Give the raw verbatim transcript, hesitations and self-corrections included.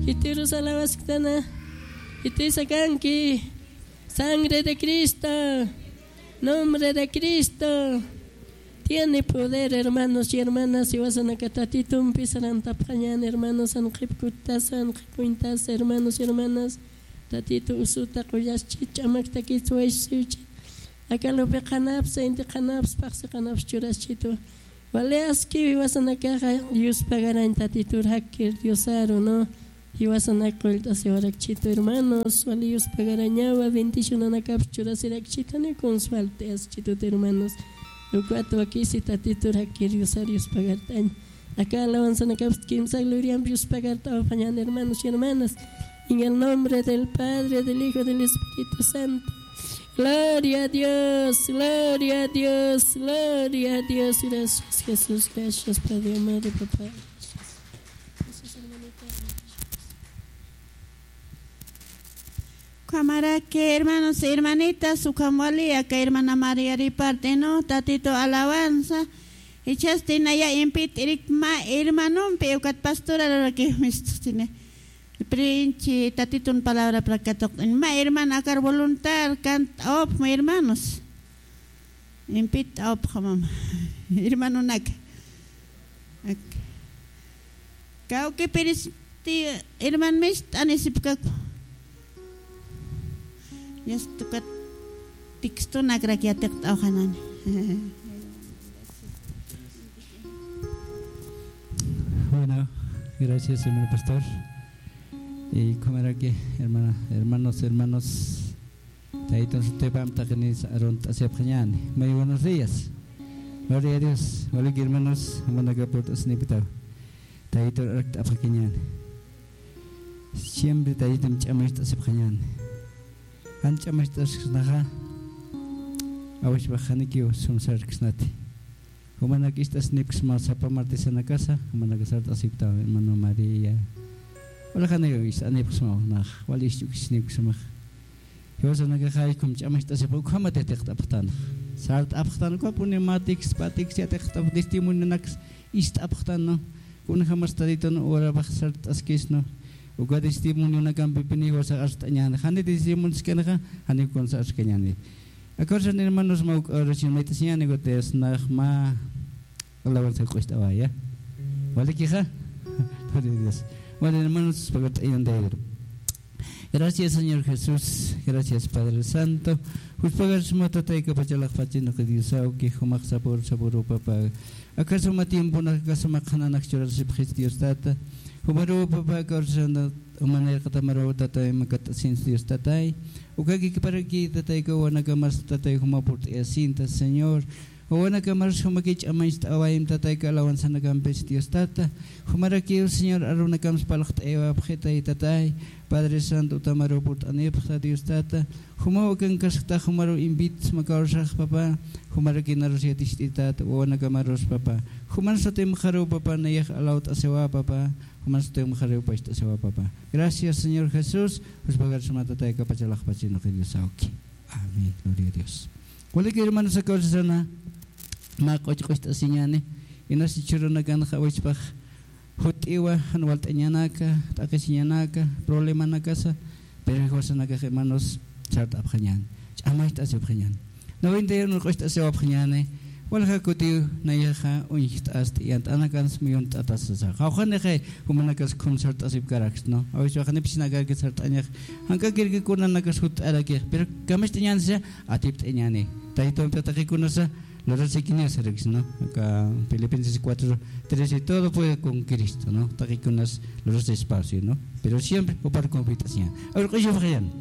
Khitirus alabasktana, khitis akanki, sangre de Cristo, nombre de Cristo. Tiene poder, hermanos y hermanas, jiwasanaka Tatitumpi sarantapxañän, hermanos, jan qhip kuttasa, jan qhip uñtasa, hermanos y hermanas. Tatitu usuta qullaschit, ch'amaktakit, suwaysiwchit. Aka lupi qhanaps, inti qhanaps, paqsi qhanaps churaschitu. Wali aski jiwasanakaxa yuspagarañ Tatitur jakkir Diosaru, ¿no? Jiwasanak qullt'asiwarakchitu, hermanos, wali yuspagarañawa, bendicionanakaps churasirakchitu, ni kuns falt'ayaschitu, hermanos. Ukat wakisi Tatitur jakkir Diosar yuspagart'añ. Aka alabanzanakaps kimsa gloriamp yuspagart'awapxañän, hermanos y hermanas. En el nombre del Padre, del Hijo, del Espíritu Santo. Gloria a Dios, gloria a Dios, gloria a Dios. Gracias, Jesús, gracias, Padre amado, papá. Ukhamaraki, hermanos, hermanitas, ukham wali, aka hermana María Riparte, ¿no? Tatitu alabanza. Ichhasti naya impit irik mä hermanompi, ukat pastora luraki mistuqtini. Princhi, Tatitun palabra prakatuqt'in. Mä hermana akar voluntad, kant'awapxma, hermanos. Impit awpxamam. Hermanonaka. Ak-, kawkipiristi herman mist'anisipkaku. Yastukat textonakrak yatiqt'awxanani. Bueno, gracias, hermano pastor. Y como era que, hermana, hermanos, hermanos, Taytun sutipamp taqinïs arunt'asipxañäni. Muy buenos días. Gloria a Dios. Walik hermanos, jumanaka purt'asinipktaw. Taytun arkt'apxakiñäni. Siempre Taytun ch'amacht'asipxañäni. Jan ch'amacht'asksnaxa, awishpax janikiw sum sarksnati. Jumanak ist'asnipksma sapa martesanakasa, jumanaka sart'asipktaw, hermano María. Wali janiw ist'anipksma, nax, wali ist'ukisnipksma. Jiwasanakaxa jaykhum ch'amacht'asipx, ukhamat yatiqt'apxtan. Sart'apxtan, ukapuni mä tiks, pä tiks yatiqt'apx, testimonionaks ist'apxtan, ¿no? Kunjamas Tatitun urapax sart'askis, ¿no? Uka testimonionakampipini jiwasax arst'añäni. Jani testimonioskanaxa, jani kunsa arskañäni. Aka urasana, hermanos, mä uk oración mayt'asiñäni, ukat nax mä alabanza q'ucht'awaya. ¿Walikixa? Gloria a Dios. Bueno, hermanos, pagart'ayan de Pedro. Gracias, Señor Jesús. Gracias, Padre Santo. Juspagarsma Tatay kapachalaqpachinaq Diosawki, jumax sapur sapuru, papá. Aka suma tiemponak, aka suma qhananak churasipxis, Dios Tata. Jumaru, papá, aka urasana, jumanirqatamaru, Tatay, makat'asins, Dios Tatay. Uka kikiparaki, Tatay, aka wawanakamas, Tatay, juma purt'ayasinta, Señor. Wawanakamas jumaki ch'amacht'awayim, Tatay, aka alabanzanakampis, Dios Tata. Jumarakiw, Señor, arunakams parlt'ayawapxitay, Tatay. Padre Santo, utamaru purt'anipxta, Dios Tata. Jumaw akankaskta, jumaru invitasma kawsax, papá. Jumaraki narus yaticht'ita, wawanakamarus, papá. Juman sutimxaru, papá, nayax alawt'asiwa, papá. Juman sutimxaru pacht'asiwa, papá. Gracias, Señor Jesús. Juspagarsma Tatay kapachalaqpachinaq Diosawki. Amén. Gloria a Dios. Walik hermanos, aka urasana mä q'uch q'ucht'asiñäni, inas jichhürunakanxa awichpax jut'iwa, jan walt'añanaka, t'aqhisiñanaka, problemanakasa, pero jiwasanakax, hermanos, sart'apxañäni, ch'amacht'asipxañäni. Noventa y uno q'ucht'asiwapxañäni, walja kutiw nayaxa uñjt'asti, yant'anakans muyunt'atas sasa. Qawqhanixay, jumanakas khum sart'asipkaraks, ¿no? Awichpax janipchinakarki sart'añax, jank'akirki kunanakas jutt'arakix, pero kamacht'añäni sasa, atipt'añäni. Taytumpi taqi kunasa, lurasïkiniw sarakis, ¿no? Aka Filipenses cuatro trece, todo puede con Cristo, ¿no? Taqi kunas lurasï espacio, ¿no? Pero siempre jupar confianza. A ver, q'uchupxañäni.